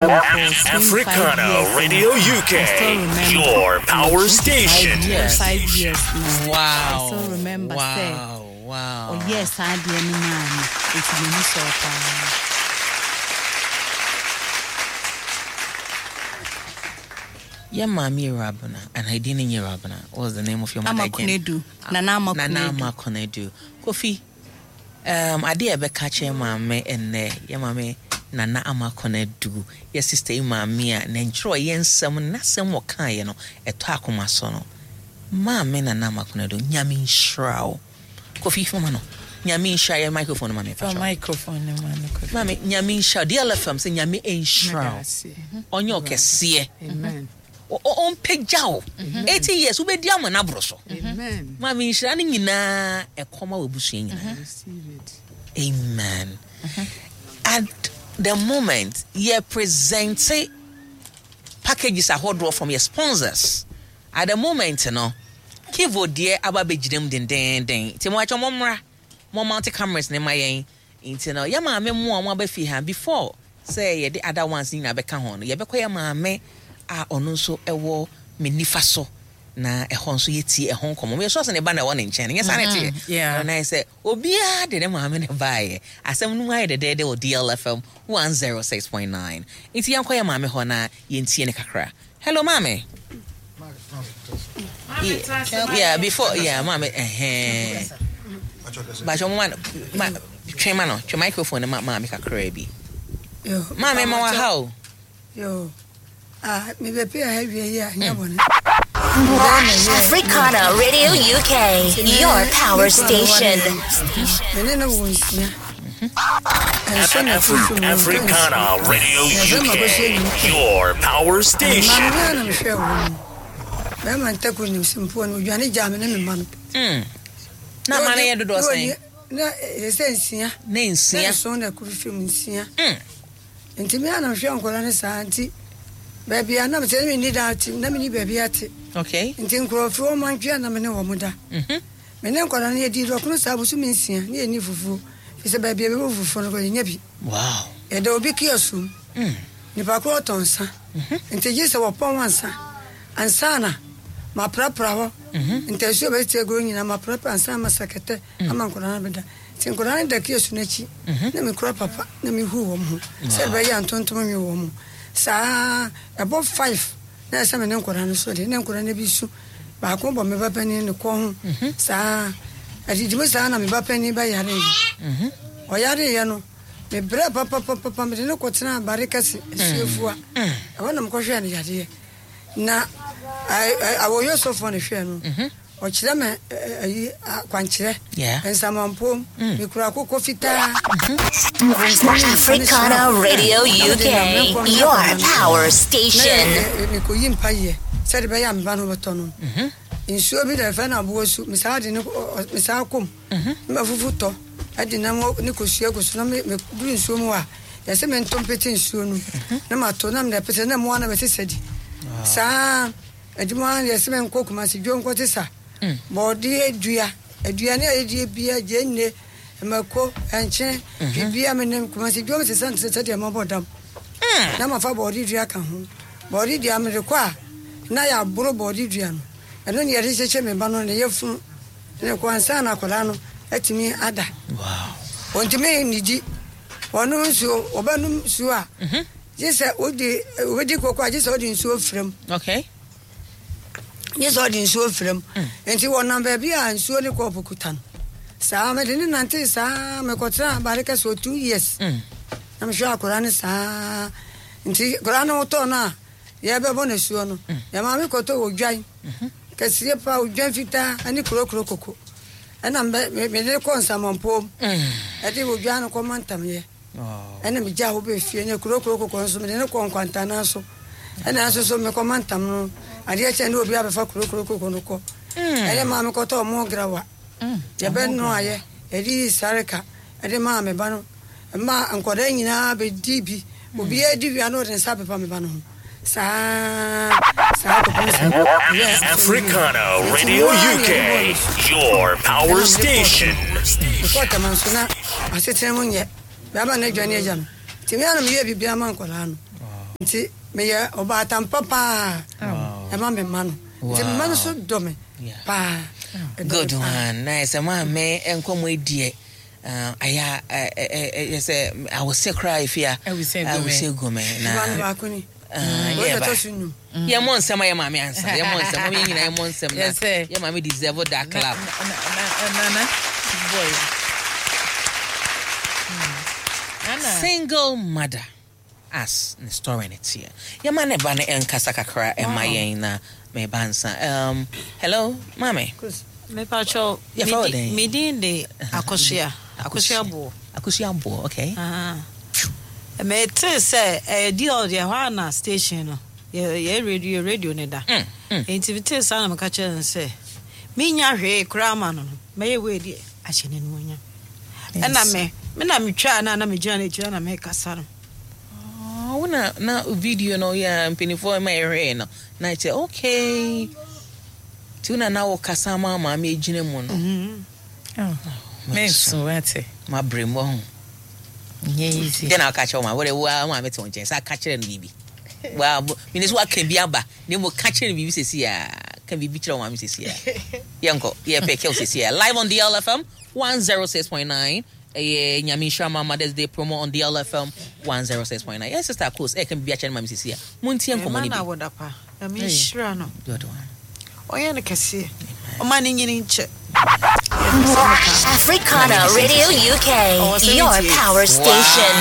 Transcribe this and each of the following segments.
Africana Radio UK, your power station. 5 years now. Wow. I still remember sɛ ɔyɛɛ saa adeɛ no maa me, nti m'ani sɔɔ paa. Yɛ maame Ewurabena, and her din nyɛ Ewurabena. What was the name of your mother Ama again? Konadu. Nana Ama Nana Konadu. Ama Konadu. Kofi, ade a ɛbɛka kyerɛ maame ɛnnɛ, yɛ maame Nana Ama Konadu, yɛ sister yi maame a ne ntwerɛ yɛ nsɛm n'asɛm wɔkaeɛ no ɛtɔ akoma so no. Maame Nana Ama Konadu, Nyame nhyira wo. Kofi, fama no. Nyame nhyira yɛ microphone no ma me. Fa microphone no ma no, Kofi. Maame, Nyame nhyira wo. DLFM sɛ Nyame nhyira wo. Ɔnyɛ ɔkɛseɛ. Amen. Ɔmpagya wo. 80 years wobɛdi ama no aboro so. Amen. Maame, nhyira no nyinaa ɛkɔma w'abusua nyinaa. Receive it. Amen. At the moment, yɛ present packages ahodoɔ from your sponsors. At the moment no, Kivo deɛ aba abɛgyina mu dendenden. Nti mo atwa mo mmra, mo mount cameras ne ma yɛn. Nti no, yɛ maame mo a mo aba fie ha before sɛ yɛde other ones nyinaa bɛka ho no, yɛbɛkɔ yɛ maame a ɔno nso ɛwɔ me nifa so na ɛhɔ nso yɛtie ɛho nkɔmmɔ. Meyɛ sure sɛ ne ba na ɛwɔ ne nkyɛn no. Nyɛ saa na ɛteɛ? Yeah. Ɔno ayɛ sɛ obiara de ne maame ne baeɛ. Asɛm no mu ayɛ dɛdɛɛdɛ wɔ DLFM 106.9. Nti yɛnkɔ yɛ maame hɔ na yɛntie ne kakra. Hello, maame. Yeah, before, yeah, maame, ɛhɛn. Bakyɛ mo ma no, ma, twe ma no, twe microphone no ma maame kakra bi. Yo, Maame, ma wa ha o. Yo, ah, mebɛpɛ ha wie yi a nyɛ bɔne. Africana Radio UK, your power station. Mene ne wo nsia. Ɛnso na fufu mu. Africana Radio UK, your power station. Maame na mehwɛ wo mu. Bɛrima ntako nim sɛ mpoa no odwane gyaa me ne me mma no. Na ma no yɛ dodoɔ sɛn? Na ɛyɛ sɛ 6. Ne 6. Na 7 na kuru fim 6. Nti me ana mehwɛ nkɔla no saa, nti baabi a na mesɛ ne menni da ate na menni baabi ate. Nti nkurɔfoɔ ɔma ntwea na me ne wɔ mo da. Me ne nkɔla no yɛdi dɔkono saa bosome 6 ne yɛnni fufuo. Firi sɛ baabi a bɛbɔ fufuo no kɔ yɛnya bi. Yɛda obi kiosk mu. Nipa korɔ ɔtɔn nsa. Nti gye sɛ wɔpɔn ansa. Ansa na maprapra hɔ. Ntasuo a bɛtete agorɔ nyinaa maprapra ansa na masa kɛtɛ ama nkɔla no bɛda. Nti nkɔla no da kiosk no akyi na mekura papa na mehu wɔn ho sɛ ɛbɛyɛ a ntontom nwe wɔn ho. Saa ɛbɔ 5 na ɛsɛ me ne nkɔla no so de ne nkɔla no bi su baako bɔ me ba panin ne kɔn ho saa adidi mu saa na me ba panin bɛyareeɛ. Ɔyareeɛ no, mebrɛ papapapa, mede ne kɔtena Bare Kɛse asuafua ɛhɔ na mekɔhwɛɛ no yadeɛ na awɔyɛ sɔfoɔ no hwɛɛ no, ɔkyerɛ me ayi akwankyerɛ nsamampom, mekura akokɔ fitaa. Africana Radio UK, your power station. Mekɔyi mpayɛ sɛde bɛyɛ a meba no bɛtɔ no nsuo bi da ɛfɛ no aboɔ su, mesaa de ne mesaa kɔm na mafufu tɔ ɛde nam ne kosua gu so na meduru nsuo mu a yɛsɛ mento mpete nsuo no na mato na mede pete na mmoa na bɛsesa di saa adwuma. Yɛsɛ menkɔ Kumase dwo nkɔte sa bɔɔdeɛ dua, aduane a yɛdie bia, gyeene, mako, ɛnkyene, bibia. Menem Kumase dwom sesa nte sɛ sɛdeɛ mabɔ dam na mafa bɔɔde dua ka ho. Bɔɔde dua mede kɔ a na yɛaboro bɔɔde dua no, ɛno ne yɛde kyekyɛ me ba no ne yɛfunu ne kɔ ansa na akwadaa no atumi ada. Ɔntumi nnidi, ɔnom nsuo, ɔbɛnom nsuo a gye sɛ wode wobɛdi koko a gye sɛ wode nsuo frɛ gye sɛ ɔde nsuo frɛ mu. Nti wɔnam baabi a nsuo ne kɔɔpo kuta no saa mede ne nante saa mekɔtena Bare Kɛse wɔ 2 years na mehwɛ akwadaa no saa. Nti akwadaa no wotɔɔ no a yɛbɛbɔ no asuo no, yɛ maame kɔtɔ odwan kɛseɛ pa, odwan fitaa ne kurokuro koko, ɛna mede kɔ nsamanpom ɛde odwan no kɔma ntamyɛ, ɛna megya hɔ bɛ fie ne kurokuro koko nso mede ne kɔ nkwantana so, ɛna nso so mekɔma ntam no adeɛ kyɛn ne obi abɛfa kurokuro koko no kɔ. Ɛyɛ maa mekɔtɔ ɔmo grawa yɛbɛno ayɛ yɛde yi sareka ɛde maa me ba no, ma nkɔdaa nyinaa bɛdi bi, obiara di wia na ɔde nsa pepa me ba no ho saa saa kɔpem sɛ Africana Radio UK, your power station. Mekɔɔ Tama nso na asetena mu nyɛ bɛaba no adwane agya no, nti me ana meyɛ biribiara ma nkɔdaa no. Nti meyɛ ɔbaatan pa paa ɛma me mma no. Nti me mma no nso dɔ me paa. Good one. Na ɛsɛ maame nkɔmɔ ediɛ ayɛ ɛyɛ sɛ awose koraa efi a awose gu me na. Ɛba no baako ni. Yɛ ba yɛ mɔ nsɛm a yɛ maame ansa yɛ mɔ nsɛm ɔmo yɛ nyinaa yɛ mɔ nsɛm na yɛ maame deserve that clap. Nana boy. Single mother as ne story ne teɛ. Yɛma ne ba no nkasa kakra ɛma yɛn na meba nsa. Hello, maame. Mepacho, Yɛfrɛ wo dɛn? me din de Akosua. Akosua Boɔ. Akosua Boɔ, okay. Metee sɛ ɛyɛ DL deɛ ɛhɔ a na station no yɛ radio radio ne da. Nti metee saa na meka kyerɛ no sɛ menya hwee koraa ma no no mɛyɛ wei deɛ ahyɛ n'animuonyam. Ɛna me me na metwaa no a na megyina n'akyiri na mekasa no. Wo na na video no yɛ mpanimfoɔ ma yɛhwɛɛ no na kyerɛ okay. Nti wo na na wokasa ma maame gyina mu no. Menso ate. Mabrɛ mu ɔho. Nyɛ easy. Deɛ na woka kyerɛ wo maame wode wo maame te wo nkyɛn sɛ aka kyerɛ no biribi. Wa mene so waka bi aba na mmom ka kyerɛ no biribi sɛsi a ka biribi kyerɛ wo maame sɛsi a. Yɛnkɔ yɛpɛ kɛw sɛsi a live on DLFM 106.9 ɛyɛ Nyame nhyira ma Mother's Day promo on DLFM 106.9. Yɛn sister Akos ɛka biribi akyerɛ no maame sɛsi a. Montie nkɔmmɔ no bi. Ɛma no awoda pa. Nyame nhyira no. Good one. Ɔnyɛ no kɛseɛ. Ɔma ne nyini nkyɛ. Africana Radio UK, your power station.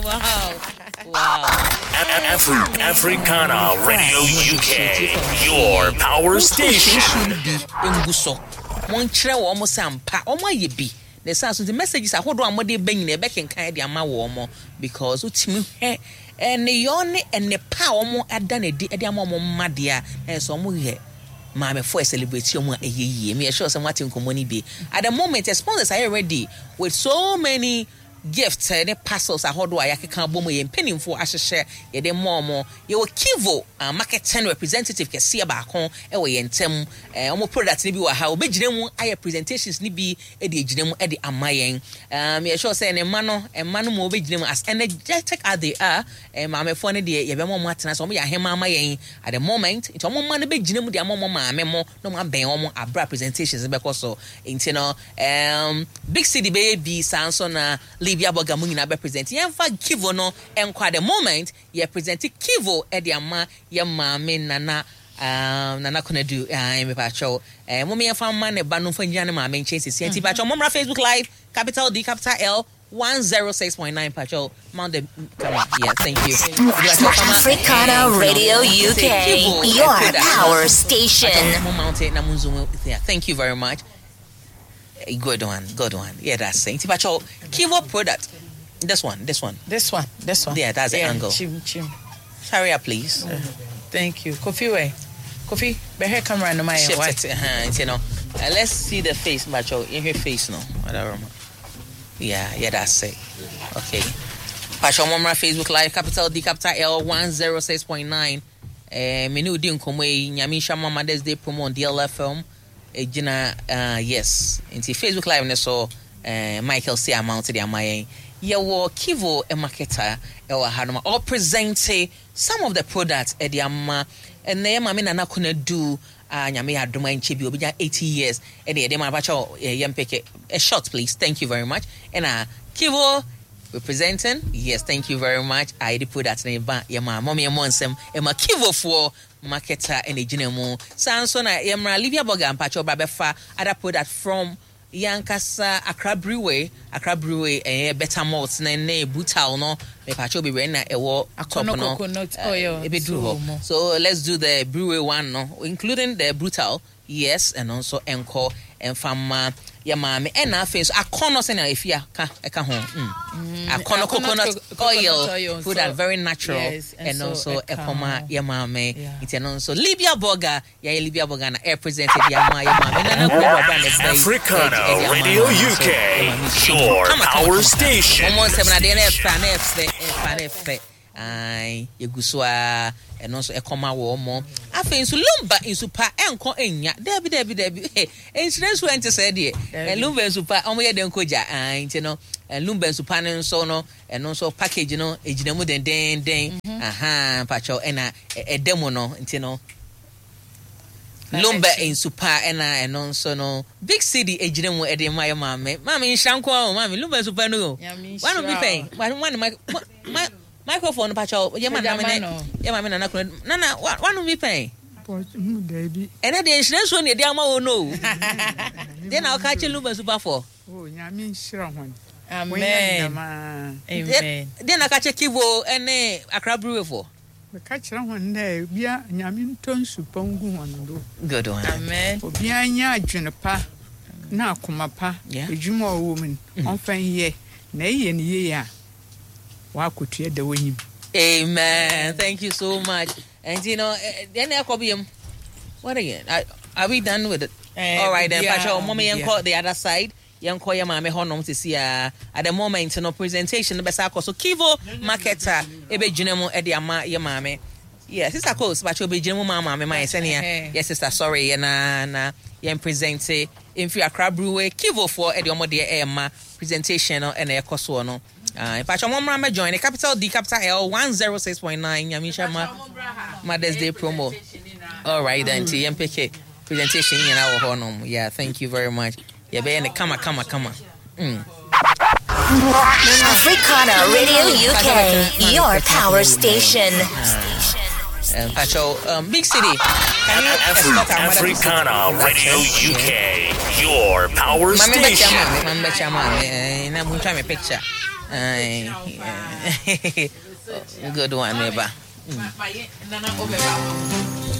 Wow. Wow. Africana Radio UK, your power station. Ngu so. Monkyerɛ wɔn mo sɛ ampa wɔn ayɛ bi. Na ɛsan so nti messages ahodoɔ a wɔde ba nyinaa ɛbɛkenkan de ama wɔn because wotumi hwɛ nneyɔɔ ne nnepa a wɔn ada no adi de ama wɔn mma deɛ a na ɛyɛ sɛ wɔn yɛ maamefo a celebrate wɔn a ɛyɛ yie. Meyɛ sure sɛ moate nkɔmmɔ no bi. At the moment, sponsors are ready with so many gifts ne parcels ahodoɔ a yɛakeka abɔ mu yɛn mpanimfoɔ ahyehyɛ yɛde mma wɔn. Yɛwɔ Kivo marketing representative kɛseɛ baako wɔ yɛn ntam. Wɔn product no bi wɔ ha. Wɔbɛgyina mu ayɛ presentations no bi de agyina mu de ama yɛn. Yɛ sure sɛ ne mma no, mma no mu wɔbɛgyina mu as energetic as they are. Maamefoɔ no deɛ yɛbɛma wɔn atena sɛ wɔn yɛ ahema ama yɛn at the moment. Nti wɔn mma no bɛgyina mu de ama wɔn maame mo na wɔn abɛn wɔn abere a presentations no bɛkɔ so. Nti no, Big City bɛyɛ bi saa nso na Libya Burger mu nyinaa bɛ present. Yɛmfa Kivo no nkɔ at the moment. Yɛ present Kivo de ama yɛ maame Nana Nana Konadu mepakyɛw. Mom yɛmfa mma ne ba no mfa ngyina ne maame nkyɛn sisi. Nti pakyɛw mommra Facebook Live capital D capital L 106.9 pakyɛw mount the camera. Yeah, thank you. Africana Radio UK, your power station. Mo mount it na mo zoom. Yeah, thank you very much. Good one, good one. Yeah, that's it. Nti pakyɛw Kivo product. This one, this one. This one, this one. Yeah, that's the angle. Chim, chim. Hurry up, please. Thank you. Kofi, where? Kofi, behind camera no my Shift it. You know. Let's see the face, Macho. In her face, no. Whatever. Yeah, yeah, that's it. Okay. Pacho Momra Facebook Live, capital D, capital L, 106.9. Me new din nkɔmmɔ yi, Nyame nhyira ma Mother's Day promo on DLFM. Gyina, yes. Nti Facebook Live ne so, Michael C. Amount de ama yɛn. Yɛwɔ Kivo marketer ɛwɔ ha nom a ɔpresente some of the products ɛde ama ɛnɛ yɛ maame Nana Konadu a Nyame yɛ adom a nkyɛ bi obɛnya 80 years ɛne yɛde ma abakyɛ yɛn peke a short please, thank you very much. Ɛna Kivo representing, yes, thank you very much. A yɛde product ne ba yɛ ma mɔm yɛ mmɔ nsɛm ɛma Kivofoɔ marketer ɛna gyina mu. Saa nso na yɛmmra Livia Burger mpakyɛ ɔba bɛfa other product from yankasa Accra Brewery. Accra Brewery ɛyɛ better malt ne ne brutal no mepakyɛ bebree na ɛwɔ top no coconut oil ebeduru hɔ. So let's do the brewery one no, including the brutal, yes, ɛno nso ɛnkɔ ɛmfa mma yɛ maame. Ɛna afei nso akɔnɔ sɛnea efi aka ɛka ho. Akɔnɔ coconut oil product, very natural, ɛno nso ɛkɔma yɛ maame. Nti ɛno nso Libya Burger, yɛayɛ Libya Burger na air present de ama yɛ maame Nana Konadu aba ne bɛyi. Africana Radio UK, your power station. Wɔn nsɛm na adeɛ na ɛfɛ na ɛfɛ ɛfɛ na ɛfɛ. Ae, yɛgu so ara, ɛno nso ɛkɔma wɔn mo. Afei nso Lumba nsu pa ɛnkɔ nnya. Daabi, daabi, daabi. Nhyira nsu ɛnte sɛɛ deɛ. Daabi. Lumba nsu pa, wɔn yɛ dɛn kɔ gya. Ae, nti no, Lumba nsu pa no nso no, ɛno nso package no ɛgyina mu dendenden. Ahaa, mpakyɛw, ɛna ɛda mu no, nti no, Lumba nsu pa ɛna ɛno nso no big city egyina mu ɛde ma yɛ maame maame nhyira nko ara o maame lumba nsu pa no o wano bi pɛn wano ma ma microphone no pakyɛw yɛ ma nana ne yɛ maame nana kono nana wano bi pɛn ɛnɛ deɛ nhyira nsuo na ɛde ama wo no o deɛ na ɔka kyɛ lumba nsu pa foɔ. Nyame nhyira hɔn. Amen. Amen. Deɛ na ɔka kyɛ Kivo ɛne Accra Brewery foɔ. Meka kyerɛ hɔn dɛ bia Nyame ntɔ nsu pa ngu hɔn do. Good one. Amen. Obiara nya adwen pa na akoma pa, edwuma a ɔwɔ mu no, ɔmfa nyɛ, na eyɛ no yie a, w'akotua da w'enyim. Amen. Thank you so much. And you know, then I copy What again? Are we done with it? All right then. Pacho, mommy, the other side. Yɛnkɔ yɛ maame hɔ nom sisi a at the moment no presentation no bɛsa akɔ so Kivo market a ɛbɛgyina mu de ama yɛ maame yeah sister Coles bakyɛ ɔbɛgyina mu ma maame ma yɛ sɛnea yɛ sister sɔre yɛ na na yɛn present mfiri Accra Brewery Kivo foɔ ɛde ɔmo deɛ ɛɛma presentation no ɛna ɛkɔ soɔ no mpakyɛ ɔmo mmra mɛ join capital D capital L 106.9 Nyame nhyira ma Mother's Day promo all right then nti yɛn peke presentation nyinaa wɔ hɔ nom yeah thank you very much Yɛbɛyɛ no kama kama kama. Mm. Africana Radio UK, your power station. Pacho, Big City. Can you escort our mother to sit? Africana Radio UK, your power Mami bɛkyia station. maame, mami bɛkyia maame. Eh, na muntwa me picture. Eh, good one, meba.